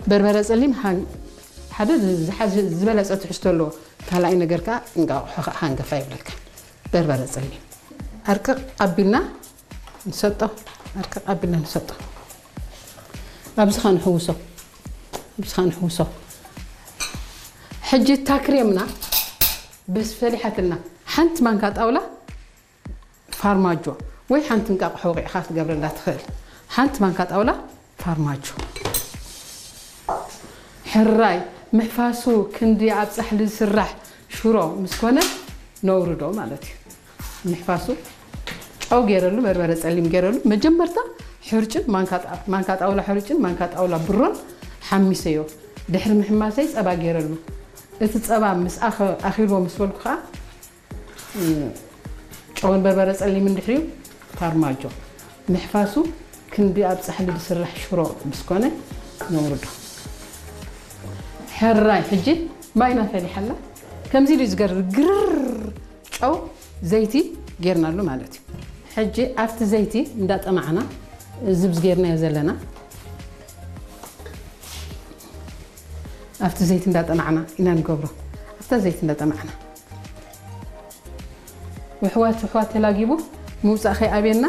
በርበረ ጸሊም ሓደ ዝበለጸ ትሕዝቶ ኣለዎ። ካልኣይ ነገር ከዓ እንቃቑሖ ከዓ ሃንገፋ ይብለካ። በርበረ ጸሊም ኣርቅቕ ኣቢልና ንሰጦ። ኣርቅቕ ኣቢልና ንሰጦ። ኣብዚኻ ንሕውሶ። ኣብዚኻ ንሕውሶ። ሕጂ ታክሬምና በስ ፈሊሓትልና። ሓንቲ ማንካ ጣውላ ፋርማጆ ወይ ሓንቲ እንቃቕሖ ወቂዕኻ ክትገብረላ ትኽእል። ሓንቲ ማንካ ጣውላ ፋርማጆ። ሕራይ ምሕፋሱ ክንዲ ኣብ ጻሕሊ ዝስራሕ ሽሮ ምስ ኮነ ነውርዶ ማለት እዩ። ምሕፋሱ ጨው ገይረሉ፣ በርበረ ጸሊም ገይረሉ። መጀመርታ ሕርጭን ማንካ ጣ-፣ ማንካ ጣውላ ሕርጭን ማንካ ጣውላ ብሮን ሓሚሰዮ። ድሕሪ ምሕማሰይ ጸባ ገይረሉ። እቲ ጸባ ምስ ኣኸ-፣ ኣኺልዎ ምስ በልኩ ከዓ ጨውን በርበረ ጸሊምን ድሕሪኡ ፋርማጆ ምሕፋሱ ክንዲ ኣብ ጻሕሊ ዝስራሕ ሽሮ ምስ ኮነ ነውርዶ። ሕራይ ሕጂ ማይና ፈሊሓላ። ከምዚ ኢሉ ዝገርር ግርር ጨው ዘይቲ ጌርናሉ ማለት እዩ። ሕጂ ኣብቲ ዘይቲ እንዳጠማዕና ዝብዝ ጌርናዮ ዘለና ኣብቲ ዘይቲ እንዳጠማዕና ኢና ንገብሮ። ኣብታ ዘይቲ እንዳጠማዕና ውሕዋት ውሕዋት ተላጊቡ ምውፃእ ከይኣብየና።